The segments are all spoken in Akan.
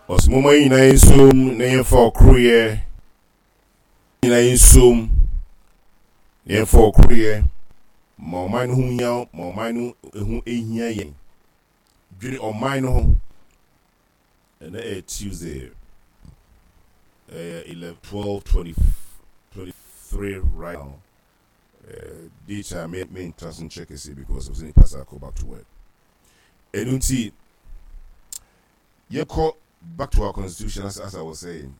Ɔsɛ momma yɛn nyinaa yɛnsom na yɛmfa ɔkoroyɛ nyinaa yɛnsom na yɛmfa ɔkoroyɛ ma ɔman no ho hia ma ɔman no ho hia yɛn. Dwene ɔman no ho. Ɛnɛ ɛyɛ Tuesday. Ɛyɛ 11 12 23 right now. Uh, date a me me ntra so nkyerɛ kɛse because ɔsɛ nipa sa kɔ back to work. Ɛno nti yɛkɔ back to our constitution as, as I was saying.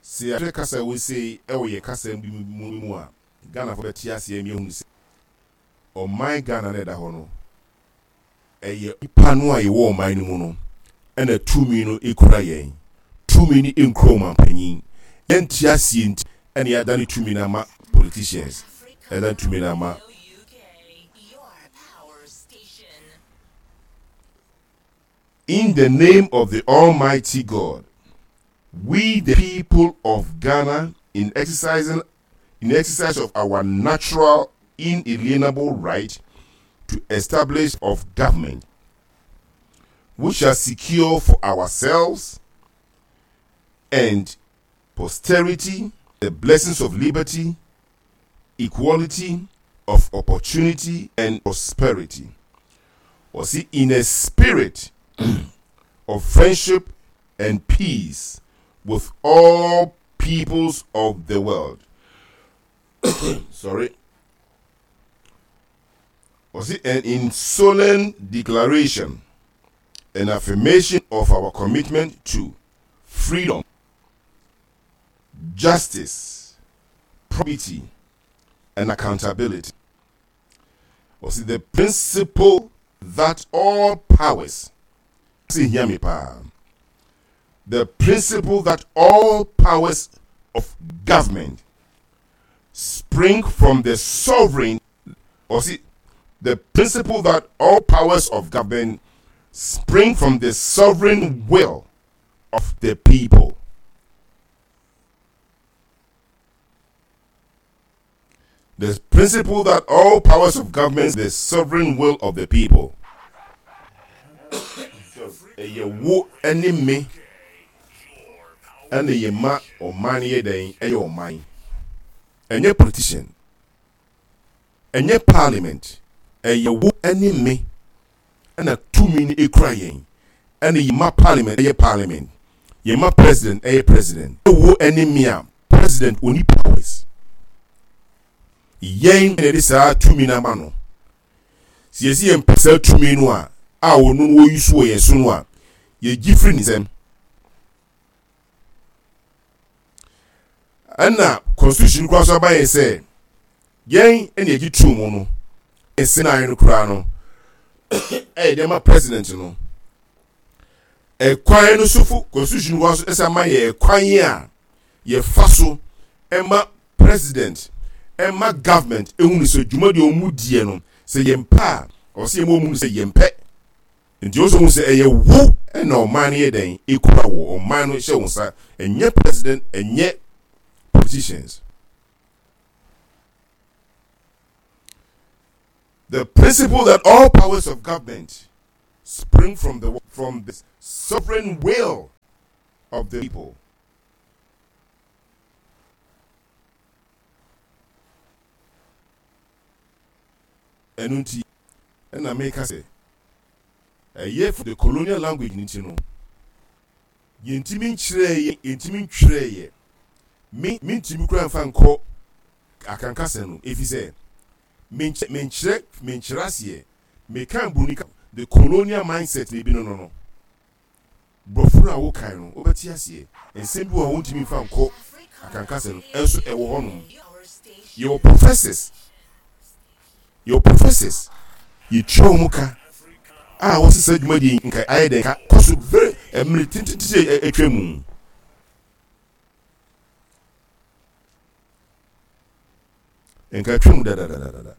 Sɛ yɛahwɛ kasa wei sei ɛwɔ yɛ kasa bi mu mu a Ghanafoɔ bɛte aseɛ mi ahunu sɛ ɔman Ghana na ɛda hɔ no Ɛyɛ nnipa no a yɛwɔ ɔman no mu no na tumi no kura yɛn. Tumi no nkura ɔmanpanyin. Yɛnte aseɛ nti na yɛadane tumi no ama politicians. Yɛadane tumi no ama. In the name of the Almighty God, we the people of Ghana in exercising in exercise of our natural inalienable right to establish of government, we shall secure for ourselves and posterity the blessings of liberty, equality of opportunity and prosperity. Or see, in a spirit of friendship and peace with all peoples of the world. Sorry. Was it an insolent declaration, an affirmation of our commitment to freedom, justice, probity, and accountability? Was it the principle that all powers see hear me pa the principle that all powers of government spring from the sovereign or see the principle that all powers of government spring from the sovereign will of the people. The principle that all powers of government the sovereign will of the people. Ɛyɛ wo ne me ɛna yɛ ma ɔman yɛ dɛn ɛyɛ ɔman. Ɛnyɛ politician. Ɛnyɛ parliament. Ɛyɛ wo ne me ɛna tumi no ekura yɛn. Ɛna yɛ ma parliament ɛyɛ parliament. Yɛ ma president ɛyɛ president. Wo ne me a president ɔni powers. Yɛn na yɛde saa tumi no ama no. Sɛ yɛsi yɛn pɛ saa tumi no a, a ɔno no wɔyi so wɔ yɛn so no a, yɛgye firi ne nsam. Ɛna constitution koraa so aba yɛn sɛ yɛn ɛna yɛgye tuu mu no nsenan no koraa no ɛyɛ de ma president no ɛkwan no sofo constitution koraa so ɛsɛ ama yɛ ɛkwan a yɛfa so ɛma president ɛma government ehunu sɛ dwuma deɛ wɔn diɛ no sɛ yɛn pɛ a ɔsɛ yɛn mu wɔn sɛ yɛn pɛ nti wɔn nso hu sɛ ɛyɛ wo ɛna ɔman no yɛ dɛn ekura wɔ ɔman no hyɛ wɔn nsa ɛnyɛ president ɛnyɛ politicians. The principle that all powers of government spring from the from the sovereign will of the people. Ɛno nti ɛna meka sɛ ɛyɛ for the colonial language no nti no yɛntumi nkyerɛɛ yɛntumi ntwerɛeɛ me mentumi koraa mfa nkɔ akankasa no ɛfiri sɛ menkyerɛ menkyerɛ aseɛ meka broni ka the colonial mindset na ebi no no no Borɔfo no a wokan no, wobɛte aseɛ. Nsɛm bi wɔ hɔ a wontumi mfa nkɔ akankasa no, ɛnso ɛwɔ hɔnom. Yɛwɔ professors, yɛwɔ professors, yɛtua wɔn ka a wɔsɛ saa dwumadie yi nka ayɛ dɛn ka kɔ so very mmerɛ tententen atwa mu. Nka atwa mu dadadadada.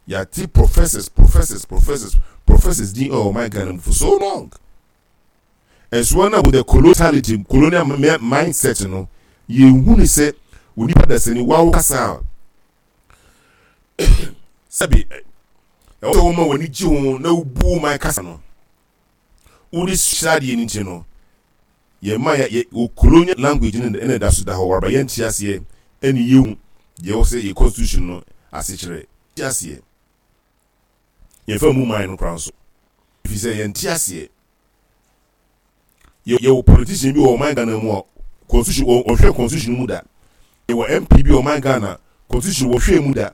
Yɛate professors, professors, professors, professors din ɛwɔ ɔman Ghana mu for so long. Ɛnso wɔn a with the coloniality, colonial mindset no, yɛnhu ne sɛ onipa dasani wawo kasa a sɛbi ɛwɔ sɛ wɔma w'ani gye ho na wobu man kasa no. wode kyerɛ adeɛ no nti no, yɛma yɛ yɛ wɔ colonial language no na ɛda so da hɔ waraba yɛnte aseɛ ɛne yɛhu deɛ ɛwɔ sɛ yɛ constitution no asekyerɛ te aseɛ yɛmfa mu man no koraa nso ɛfiri sɛ yɛnte aseɛ. Yɛwɔ politician bi wɔ ɔman Ghana mu a constitution wɔnhwɛ constitution mu da. Yɛwɔ MP bi wɔ ɔman Ghana constitution wɔhwɛ mu da.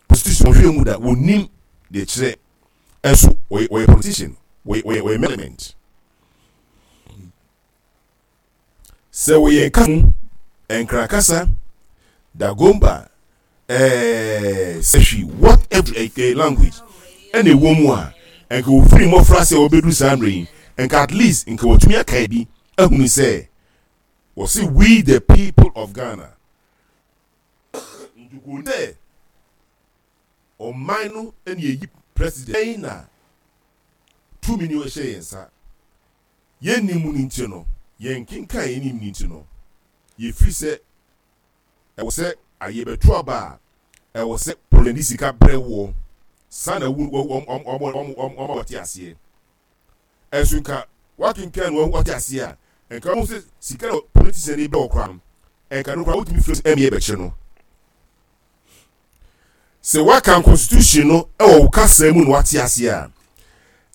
Constitution wɔhwɛ mu da. Wɔnim deɛ kyerɛ. Ɛnso wɔyɛ wɔyɛ politician wɔyɛ wɔyɛ wɔyɛ parliament. Sɛ wɔyɛ nka mu nkrakasa Dagomba ɛɛ sɛhwi whatever ɛɛ language ɛna ɛwɔ mu a nka wɔfiri mmɔfra sɛ wɔbɛduru saa mmerɛ yi nka at least nka wɔtumi akae bi ahunu sɛ wɔse we the people of Ghana ntukuo sɛ ɔman no ɛna ɛyi president ɛn na tumi no ɛhyɛ yɛn nsa yɛnni mu no nti no yɛnkenkan yɛnnim no nti no yɛfiri sɛ Ɛwɔ sɛ yɛbɛto aba a, ɛwɔ sɛ Poland de sika brɛ woɔ. Saa na wo wɔn wɔn wɔn wɔn wɔn wɔn wɔte aseɛ. Ɛnso nka woakenkan no wate aseɛ a, nka wohu sɛ sika na politician de brɛ wo koraa no, nka no koraa wotumi frɛ sɛ ɛmeɛ bɛkye no. Sɛ woakan constitution no wɔ wo kasa mu na wate aseɛ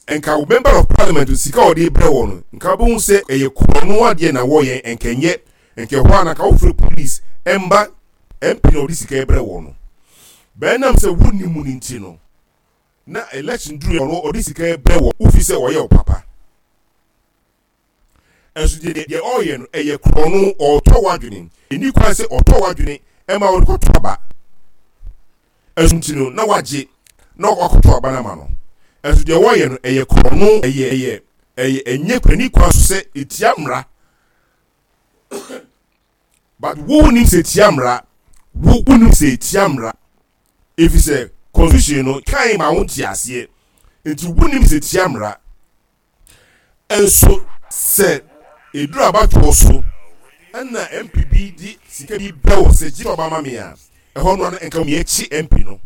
a, nka wo member of parliament sika a ɔde brɛ wɔ no, nka wobɛhu sɛ ɛyɛ korɔno adeɛ na wɔyɛ, nka ɛnyɛ, nka ɛhɔ a na nka wofrɛ police ɛmba MP na ɔde sika brɛ wɔ no. Bɛnam sɛ wonni mu no nti no, na election duru ɔno ɔde sika brɛ wɔ, wofi sɛ ɔyɛ wo papa. Nso deɛ deɛ ɔreyɛ no ɛyɛ korɔno, ɔretɔ w'adwene. Ɛni kwan sɛ ɔtɔ w'adwene ɛma wode kɔto aba. Ɛso nti no na wagye na wakɔto aba no ama no. Ɛnso deɛ ɔreyɛ no ɛyɛ korɔno, ɛyɛ ɛyɛ ɛyɛ ɛnyɛ ɛni kwan so sɛ ɛtia mmara. But wo wonim sɛ ɛtia mmara, wo wonim sɛ ɛtia mmara. Ɛfiri sɛ constitution no kan ma wo nteaseɛ. Nti wonim sɛ ɛtia mmara. Nso sɛ ɛduru abatoɔ so na MP bi de sika bi brɛ wo sɛ gye ɔba ma me a, ɛhɔ no ara nka wɔn akyi MP no.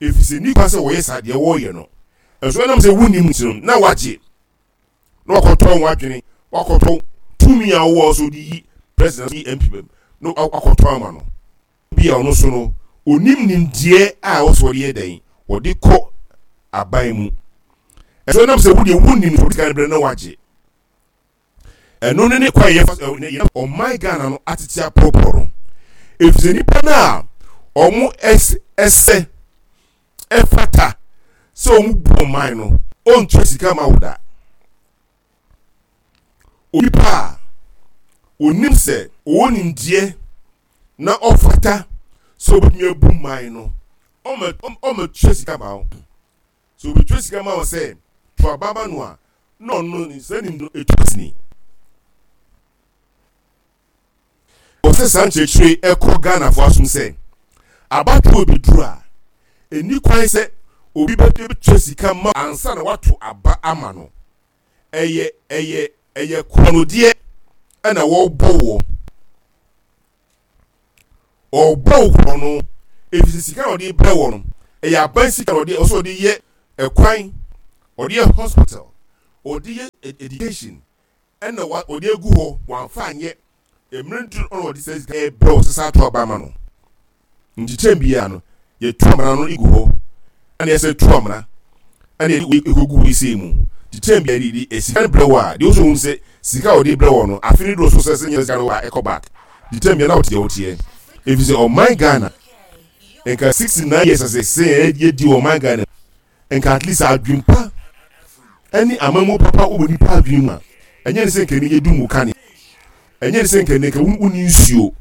Ɛfiri sɛ nni kwan sɛ wɔyɛ saa deɛ wɔreyɛ no. Nso ɛnam sɛ wonnim nti no, na wagye na wakɔtɔn w'adwene, wakɔtɔn tumi a wowɔ so de yi president yi MP bɛm na wakɔtɔn ama no. Ebia ɔno nso no, onim nimdeɛ a ɛwɔ sɛ ɔde yɛ dɛn, ɔde kɔ aban mu. Ɛso ɛnam sɛ wo deɛ wonnim no, sika no brɛ na wagye. Ɛno ne ne kwan yɛfa yɛ ɔman Ghana no atete aporɔporɔ no. Efisɛ nipa no a wɔn ɛsɛ ɛfata sɛ wɔn bu ɔman no, ɔntua sika ma wo da. Onipa a onim sɛ ɔwɔ nimdeɛ na ɔfata sɛ obetumi abu man no, ɔma ɔma tua sika ma wo. Sɛ obetua sika ma wo sɛ to aba ma no a, na ɔno no saa nim no etu sini. Ɔsɛ saa nkyerɛkyerɛ yi ɛkɔ Ghanafo asom sɛ abatoɔ bɛduru a, ɛnni kwan sɛ obi bɛtua sika ma ansa na wato aba ama no. Ɛyɛ ɛyɛ ɛyɛ korɔnodeɛ ɛna wɔrebɔ woɔ. Ɔrebɔ wo korɔno efisɛ sika na ɔde brɛ wɔ no ɛyɛ aban sika na ɔde ɔsɛ ɔde yɛ ɛkwan, ɔde yɛ hospital, ɔde yɛ education ɛna wa ɔde agu hɔ wamfa anyɛ mmerɛ nti ɔna ɔde saa sika ɛbrɛ wɔ sesa ato aba ama no. Nti kyɛn biara no yɛtu amena no gu hɔ ɛna yɛsɛ tu amena ɛna yɛde ɛkɔgu wei sei mu. Nti kyɛn biara yɛde sika no brɛ wɔ a deɛ wosɛ hu sɛ sika a ɔde brɛ wɔ no afe no duro so sɛ sɛ nyɛ sika no wɔ a ɛkɔ back. Nti kyɛn biara na wote deɛ woteɛ ɛfiri sɛ ɔman Ghana nka 69 years asɛ sɛ yɛdi wɔ ɔman Ghana nka at least adwempa ɛne amammuo papa wɔ nipa adwene mu a ɛnyɛ ne sɛ nka ne yɛdum wo kane ɛnyɛ ne sɛ nka ne nka wonni nsuo.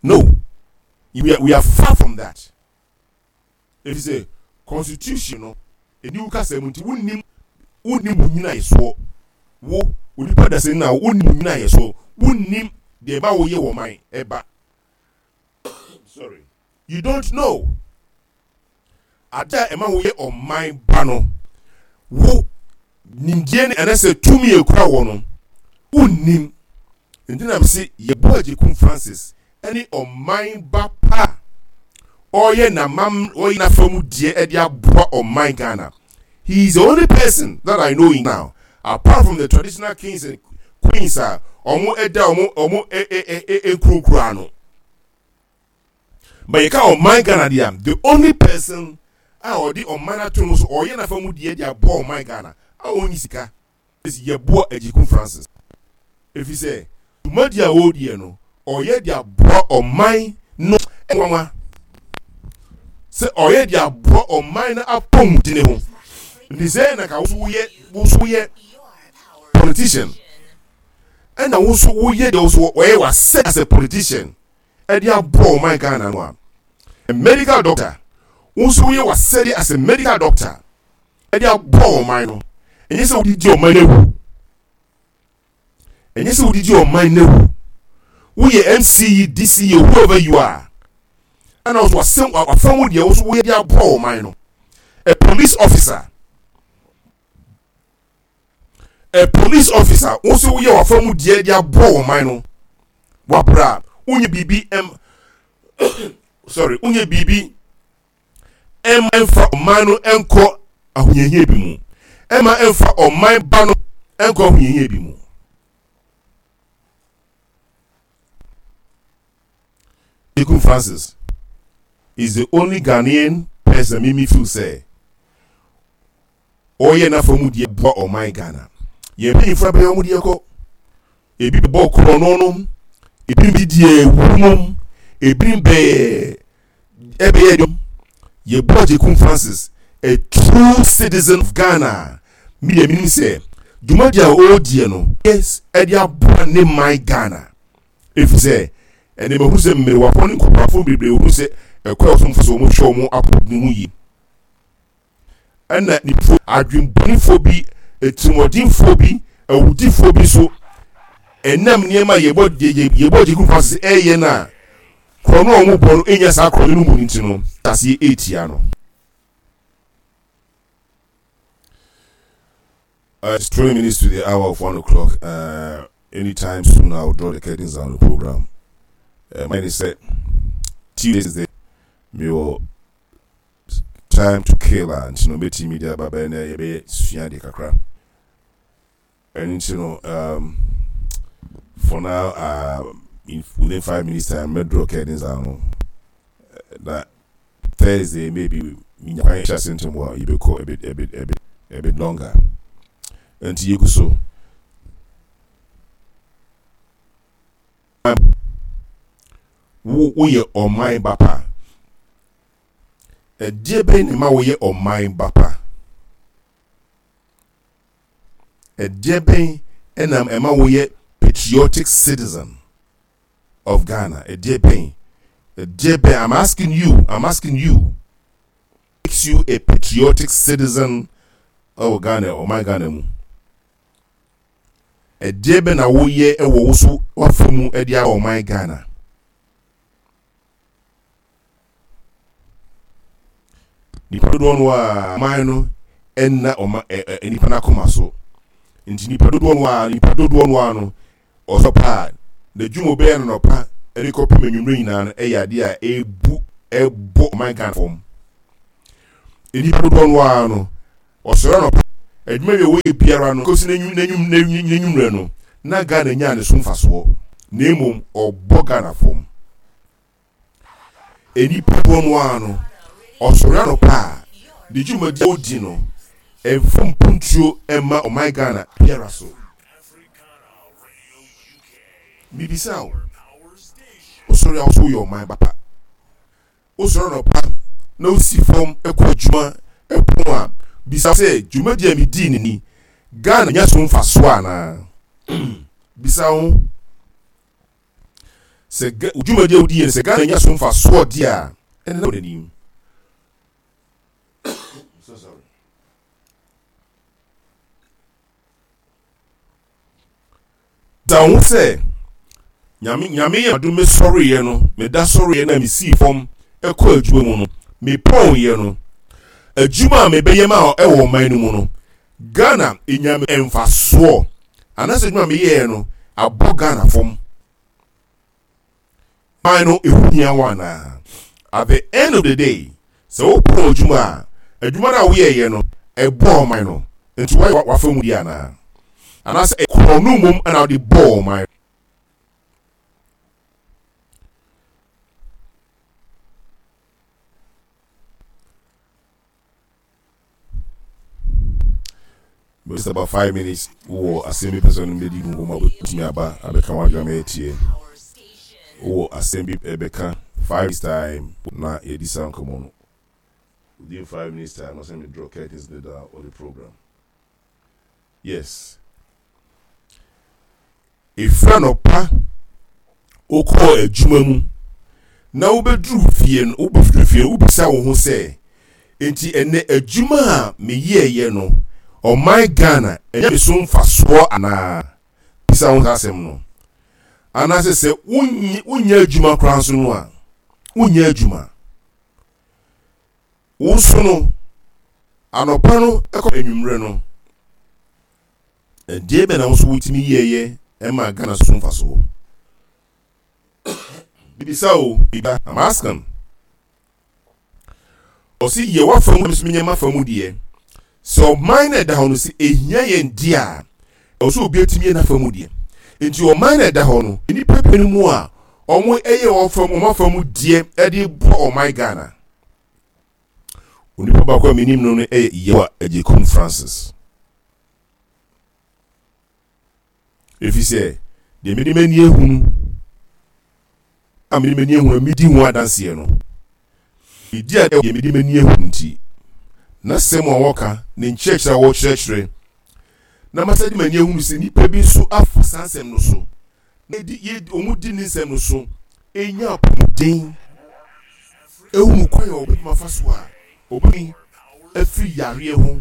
No, we are far from that. Ɛfiri sɛ constitution no ɛni wo kasa mu nti wonnim wonnim wo nyinaeɛsoɔ. Wo onipa dasani na wonnim wo nyinaeɛsoɔ. Wonnim deɛ ɛma woyɛ wɔ man ɛba. Sorry. You don't know. Ade a ɛma woyɛ ɔman ba no, wo nimdeɛ ne anasɛ tumi a ekura wɔ no, wonnim. Nti na mese Yeboah Agyekum Francis ne ɔman ba pa a ɔreyɛ n'amam ɔreyɛ n'afa mu deɛ de aboa ɔman Ghana. He is the only person that I know in now apart from the traditional kings and queens a wɔn ɛda wɔn wɔn ɛ ɛ ɛ nkurokuro ano. But yɛka ɔman Ghana deɛ a, the only person a ɔde ɔman ato no so ɔyɛ n'afa mu deɛ de aboa ɔman Ghana a ɔnyi sika is Yeboah Agyekum Francis. Ɛfiri sɛ dwumadi a ɔrediɛ no ɔyɛ de aboa ɔman no nwanwa sɛ ɔyɛ de aboa ɔman no apɔmudene ho. Nti sɛ na ka wo so woyɛ wo so woyɛ politician ɛna wo nso woyɛ deɛ wo so wɔyɛ wasɛ as a politician ɛde aboa ɔman Ghana no a, a medical doctor, wo nso woyɛ w'asɛdeɛ as a medical doctor ɛde aboa ɔman no, ɛnyɛ sɛ wode di ɔman no awu, ɛnyɛ sɛ wode di ɔman no awu. Woyɛ MCE, DCE, whoever you are, ɛna wo so wasɛm wafa mu deɛ wo so woyɛ de aboa ɔman no. A police officer, A police officer, wo nso woyɛ w'afa mu deɛ de aboa wɔn man no. Wabra, wonyɛ biribi ɛm sorry, wonyɛ biribi ɛma ɛmfa ɔman no ɛnkɔ ahohiahia bi mu. Ɛma ɛmfa ɔman ba no ɛnkɔ ahohiahia bi mu. Ekum Francis is the only Ghanaian person me me feel say ɔyɛ n'afa mu deɛ boa ɔman Ghana. Yɛn mpanyinfoɔ abɛyɛ wɔn deɛ kɔ. Ebi bɛbɔ korɔno nom, ebi bi deɛ ewu nom, ebi bɛyɛ ɛbɛyɛ dɔm. Yɛbu Agyekum Francis a true citizen of Ghana. Mi deɛ menim sɛ dwumadi a ɔrediɛ no ɛde aboa ne man Ghana. Ɛfiri sɛ ɛnɛ mahu sɛ mmerewafoɔ ne nkɔkorafoɔ bebree hunu sɛ ɛkwan a wɔsomfo sɛ wɔhwɛ wɔn apɔmuden ho yie. Ɛna nipa adwembɔnefoɔ bi, atirimuɔdenfoɔ bi, awudifoɔ bi nso ɛnam nneɛma a yɛbɔ yɛbɔ Agyekum Francis ɛyɛ no a korɔ no a wɔbɔ no ɛnya saa korɔ no mu no nti no aseɛ ɛretia no. It's 20 minutes to the hour of 1 o'clock. Anytime soon, I'll draw the curtains on the program. My name is Tuesday, me Time to kill a nti no mɛtumi de aba bɛyɛ na yɛbɛyɛ sua deɛ kakra ɛno nti no um, for now uh, in, within 5 minutes time mɛdraw curtains ano na Thursday maybe menya kwan hyɛ ase ntɛm a yɛbɛkɔ a bit, a bit, a bit, a bit longer nti yɛgu so. Wo woyɛ ɔman ba pa. Ɛdeɛ bɛn na ɛma woyɛ ɔman ba pa? Ɛdeɛ bɛn na ɛma woyɛ patriotic citizen of Ghana? Ɛdeɛ bɛn? Ɛdeɛ bɛn? I'm asking you, I'm asking you. Makes you a patriotic citizen ɛwɔ Ghana, ɔman Ghana mu. Ɛdeɛ bɛn na woyɛ ɛwɔ wo so w'afa mu ɛde ama ɔman Ghana? Nnipa dodoɔ no ara man no nna ɔma ɛ ɛ nnipa no akoma so. Nti nnipa dodoɔ no ara nnipa dodoɔ no ara no ɔsɔ pa a n'adwuma ɔbɛyɛ no nɔpa de kɔpem anwummerɛ nyinaa no ɛyɛ adeɛ a ɛbu ɛbɔ ɔman Ghana fam. Nnipa dodoɔ no ara no ɔsɔre anɔpa adwuma bi a wɔyɛ biara no kɔsi n'anwummerɛ no na Ghana nyaa ne so mfasoɔ na mmom ɔbɔ Ghana fam. Nnipa dodoɔ no ara no, ɔsɔre anɔpa a, ne dwumadi a ɔdi no, ɛmfa mpuntuo mma ɔman Ghana biara so. Mebisa wo, wosɔre a wo so woyɛ ɔman ba pa? Wosɔre anɔpa na wosi fam kɔ adwuma pɔn a, bisa sɛ, dwumadi a medii no ni, Ghana nya so mfasoɔ anaa? Bisa wo ho. Sɛ dwumadi a wodi yɛ no sɛ Ghana nya so mfasoɔ deɛ a, ɛne na wɔ n'anim. So sorry. Da ho sɛ nyame nyame yɛ adom mesɔreeɛ no meda sɔreeɛ na mesii fam ɛkɔ adwuma mu no mepɔnyɛ no adwuma a mebɛyɛ ma ɛwɔ ɔman no mu no Ghana nya me mfasoɔ anaasɛ adwuma a meyɛɛ no abɔ Ghana fam man no ɛho hia wo anaa? At the end of the day sɛ wopɔn adwuma a adwuma no a woyɛeɛ no Ɛboa ɔman no. Nti woayɛ w'afa mu deɛ anaa? Anaasɛ ɛyɛ korɔno mmom na wode bɔɔ ɔman no? Just about 5 minutes wowɔ asɛm bi pɛ sɛ ɔno bɛdi ho nkɔmmɔ a, wobɛtumi aba abɛka w'adwene ama yɛatie. Wowɔ asɛm bi ɛbɛka 5 minutes time na yɛdi saa nkɔmmɔ no. Within 5 minutes time, ɔsɛ me draw curtains no down on the program. Yes. Ɛfiri anɔpa wokɔɔ adwuma mu na wobɛduru fie no, wobɛduru fie no, wobisa wo ho sɛ, nti ɛnɛ adwuma a meyɛɛyɛ no, ɔman Ghana ɛnyɛ me so mfasoɔ anaa? Bisa wo ho saa asɛm no. Anaasɛ sɛ wonyɛ adwuma koraa nso no a, wonyɛ adwuma. Wo nso no, anɔpa no kɔ anwummerɛ no, ɛdeɛ bɛn na wo nso wotumi yɛɛyɛ ɛma Ghana so mfasoɔ? Bibisa o, bibisa, I'm asking. Ɔsi yɛ w'afa mu na me nso menyɛ m'afa mu deɛ. Sɛ ɔman no a ɛda hɔ no sɛ ehia yɛn deɛ a, ɛwɔ sɛ obiara tumi yɛ n'afa mu deɛ. Nti ɔman no a ɛda hɔ no, nnipa binom a wɔyɛ wɔn afa mu, wɔn afa mu deɛ de boa ɔman Ghana. Onipa baako a menim no no yɛ Yehowa Agyekum Francis. Ɛfiri sɛ deɛ mede m'ani ahunu a mede m'ani ahunu a medi ho adanseɛ no, medi a deɛ mede m'ani ahunu nti, n'asɛm a wɔka, ne nkyerɛkyerɛ a wɔkyerɛkyerɛ, na masa de m'ani ahunu sɛ nnipa bi nso afa saa nsɛm no so, na yɛdi, yɛdi, wɔn di ne nsɛm no so, enya apɔmuden, ehunu kwan a wɔbɛtumi afa so a wɔbɛtumi afiri yareɛ ho.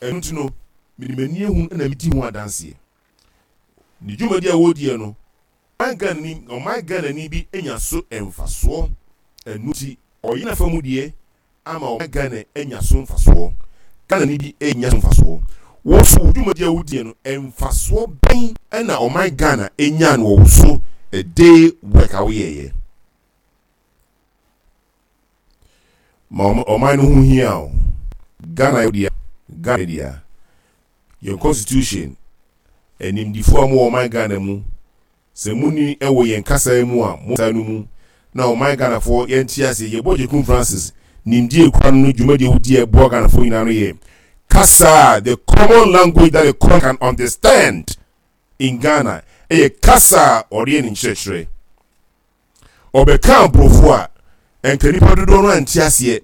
Ɛno nti no, mede m'ani ahu na medi ho adanseɛ. Ne dwumadi a wɔrediɛ no, ɔman Ghanani, ɔman Ghanani bi anya so mfasoɔ. Ɛno nti, ɔyɛ n'afa mu deɛ ama ɔman Ghana anya so mfasoɔ. Ghanani bi renya so mfasoɔ. Wo nso, wo dwumadi a wodiɛ no, mfasoɔ bɛn na ɔman Ghana nyaa no wɔ wo so a day work a woyɛeɛ? Ma ɔman no ho hia o. Ghana yɛ dea, Ghana yɛ dea. Yɛn constitution, animdifoɔ a mowɔ ɔman Ghana mu, sɛ monni wɔ yɛn kasa yi mu a, mo kasa no mu na ɔman Ghanafoɔ yɛnte aseɛ. Yɛbɔ Gyekum Francis nimdeɛ ekura no no dwumadie wodi a ɛboa Ghanafoɔ nyinaa no yɛ kasa a the common language that the common can understand in Ghana ɛyɛ kasa a ɔde yɛ ne nkyerɛkyerɛ. Ɔbɛkaa borɔfo a ɛnka nipa dodoɔ no ante aseɛ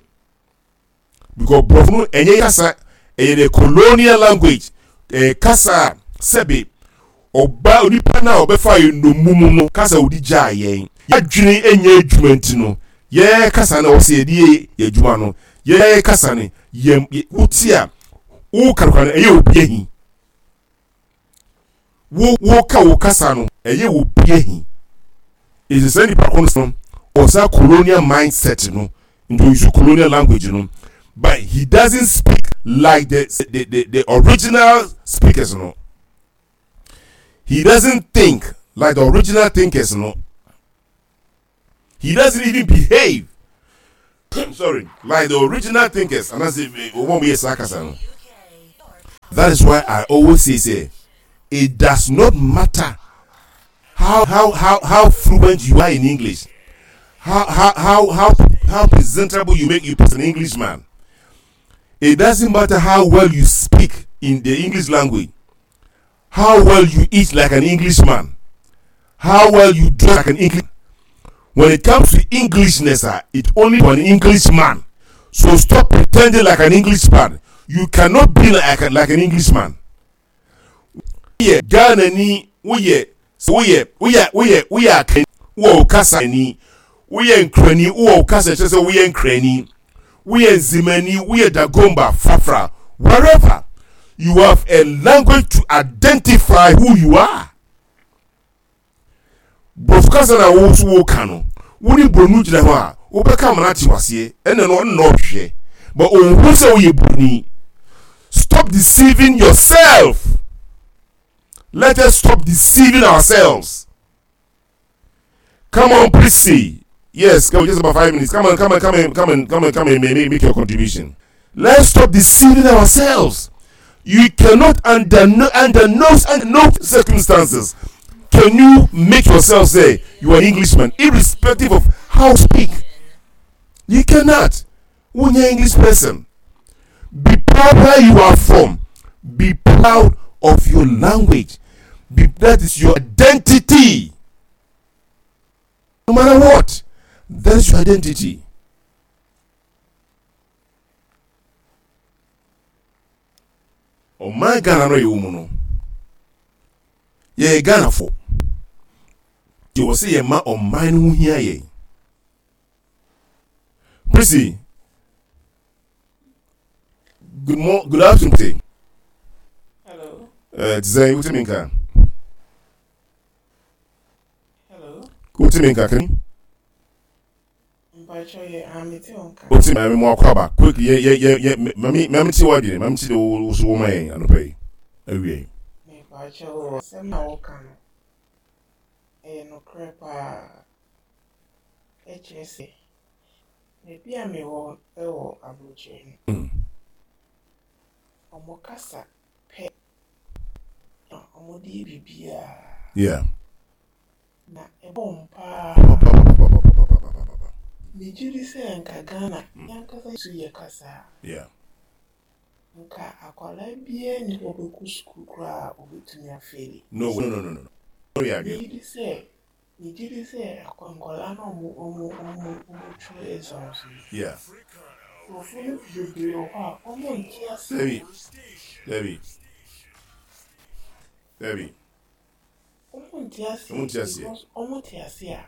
because borɔfo no ɛnyɛ kasa, ɛyɛ the colonial language, ɛyɛ kasa a sɛbe ɔba onipa no a ɔbɛfa yɛn nnommum no kasa a ɔde gyaa yɛn. Yɛadwene ɛnyɛ adwuma nti no yɛn kasa no a ɔsɛ yɛde yɛ yɛn adwuma no, yɛn kasa no yɛn wote a woka no ɛyɛ obi ahi. Wo woka wo kasa no ɛyɛ wo bi ahi. Ɛsɛ saa nipa ko no ɔwɔ saa colonial mindset no nti ɔ use colonial language no but he doesn't speak like the the the, the original speakers no. He doesn't think like the original thinkers no. He doesn't even behave sorry like the original thinkers and that's wɔn yɛ saa kasa no. That is why I always say say it does not matter how fluent you are in English, how presentable you make you as an Englishman. It doesn't matter how well you speak in the English language, how well you eat like an Englishman, how well you dress like an English. When it comes to Englishness, it only for an Englishman. So stop pretending like an Englishman. You cannot be like an Englishman. Woyɛ Ghana ni, woyɛ woyɛ woyɛ woyɛ woyɛ Akanni, wowɔ wo kasa ni. Woyɛ Nkrani, wowɔ wo kasa kyerɛ sɛ woyɛ Nkrani. Woyɛ Nzimani, woyɛ Dagomba, Frafra, wherever. You have a language to identify who you are. Borɔfo kasa na wo nso woka no, wo ne buroni gyina hɔ a, wobɛka ama no ate waseɛ, ɛnna no ɔno na ɔhwehwɛ. But ɔnhu sɛ woyɛ buroni. Stop deceiving yourself. Let us stop deceiving ourselves. Come on, Prissy. Yes, go just about 5 minutes. Come on, come on, come in, come on, come on, come in, make, make your contribution. Let's stop deceiving ourselves. You cannot under no under no under no circumstances can you make yourself say you are an Englishman, irrespective of how you speak. You cannot. When you're an English person, be proud where you are from. Be proud of your language. Be, that is your identity. No matter what, that's your identity. Ɔman Ghana no a yɛwɔ mu no, yɛyɛ Ghanafo. Nti wɔ sɛ yɛma ɔman no ho hia yɛn. Prissy, good morning, good afternoon. Prissy. Hello. Te sɛ wotumi nka? Hello. Wotumi nka kani? Mpakyɛw yɛ ah me te wo nka. Oti maame mo akɔ aba quick yɛ yɛ yɛ yɛ maame maame ti wadwene maame ti de wo so wo ma yɛn anɔpa yi awia yi. Mepakyɛw o asɛm a woka no ɛyɛ nokorɛ paa ɛkyerɛ sɛ baabi a mewɔ wɔ abrokyire no ɔmo kasa pɛ na ɔmo de yɛ biribiaa. Yeah. Na ɛbɔm paa. Megye di sɛ nka Ghana yɛn ankasa su yɛ kasa a, nka akwadaa biara nni hɔ a ɔbɛkɔ sukuu koraa a ɔbɛtumi afeeli. No. Megye di sɛ megye di sɛ nkwadaa no a wɔn wɔn wɔn wɔtwerɛ exams no, nkurɔfoɔ no bebree wɔ hɔ a wɔnte aseɛ. Dabi. Dabi. Dabi. Ɔmo nte aseɛ Ɔmo nte aseɛ. because ɔmo te aseɛ a,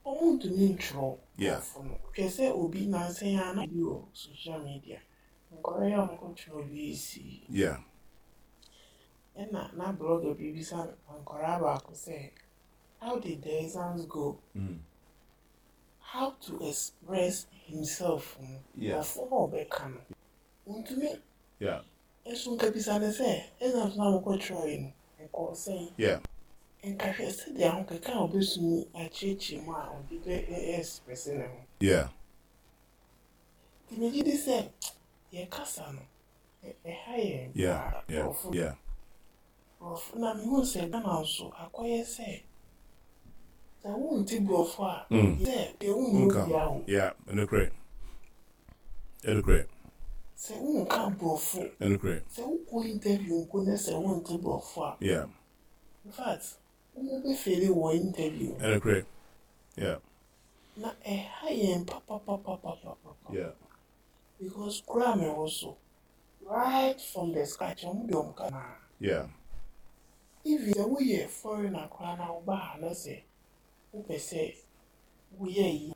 ɔmo ntumi ntwerɛ borɔfo no. Hwɛ sɛ obi nansa yi ara na bi wɔ social media, nkwadaa yi a ɔmo kɔtwerɛ BECE. Ɛna na blogger bi bisa nkwadaa baako sɛ, how did the exams go? How to express himself no, borɔfo no a ɔbɛka no, ɔntumi. Nso nka bisa no sɛ, exams no a mokɔtwerɛeɛ no, ɛkɔɔ sɛn? Nka hwɛ sɛdeɛ ahokeka a ɔbɛsumi akyerɛkyerɛ mu a ɔde bɛ express ne ho. Nti megye di sɛ yɛn kasa no, ɛha yɛn paa. Borɔfo borɔfo na mehu sɛ Ghana nso akɔyɛ sɛ sɛ wonte borɔfo a, sɛ deɛ wonyɛ obiara o. Yeah, ɛnokorɛ. Ɛnokorɛ. Sɛ wonka borɔfo, Ɛnokorɛ. sɛ wokɔ interview mpo na sɛ wonte borɔfo a, in fact, wɔn bɛfeeli wɔ interview. Ɛnokorɛ. Na ɛha yɛn papapapapapa. Because kuro a mewɔ so, right from the scratch, wɔn de wɔn ka naa. Even sɛ woyɛ foreigner koraa na woba ha na sɛ wopɛ sɛ woyɛ yi,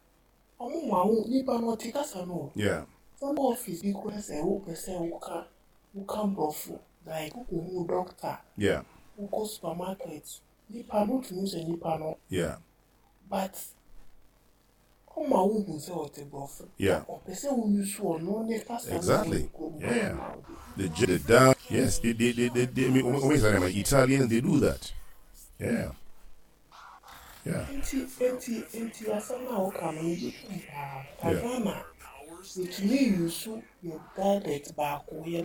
wɔn ma wo nipa no ɔte kasa no o. Sɛ wokɔ office bi koraa sɛ wopɛ sɛ woka woka borɔfo like wokɔhu doctor, wokɔ supermarket, nipa no wotumi hu sɛ nipa no but ɔma wohu sɛ ɔte borɔfo. Ɔpɛ sɛ wo use ɔno ne kasa no Exactly. wɔ kurom na ɔde. The J, the Dutch, yes, they, I mean, when Italians, they do that. Yeah. Nti asɛm a woka no megye tom paa. Ka Ghana yɛtumi use yɛ dialect baako yɛ.